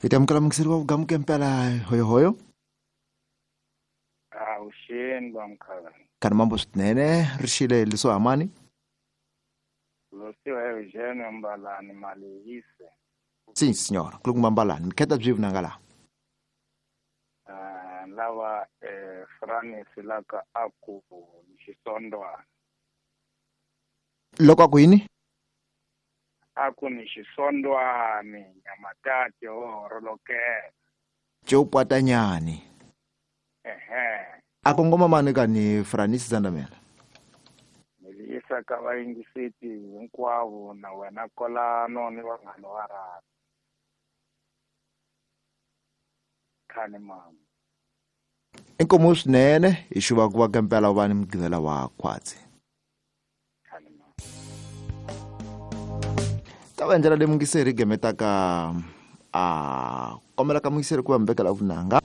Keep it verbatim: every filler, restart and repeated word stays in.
Hi ta amukela mukiseri wa vugamuke mpela hoyohoyo. Avuxeni vamkhana. Kani mambo swinene ri xile leswo hamani. Losiwa Eugene Mbalani Malehise. Sim senhora, kulunguma Mbalani, mikheta byi vunanga la. Ah lava eh Francis laka aku xisondwana. Loko aku yini? Aku ni xisondwani nyamatati ho rolokela. Tjo pwatanyani. Ehe. A kongoma mani kani Francis Zandamela. Niliyisa ka vayingiseti hinkwavo na wena kolano ni vanghana wa rhavi. Khani mama. Inkomo swinene hi xuva ku va kampela va ni mugqivela wa khwatsi. Khani mama. Ta va ndlela leyi mungiseri gemetaka a kombela ka mungiseri ku va mi vekela vunanga.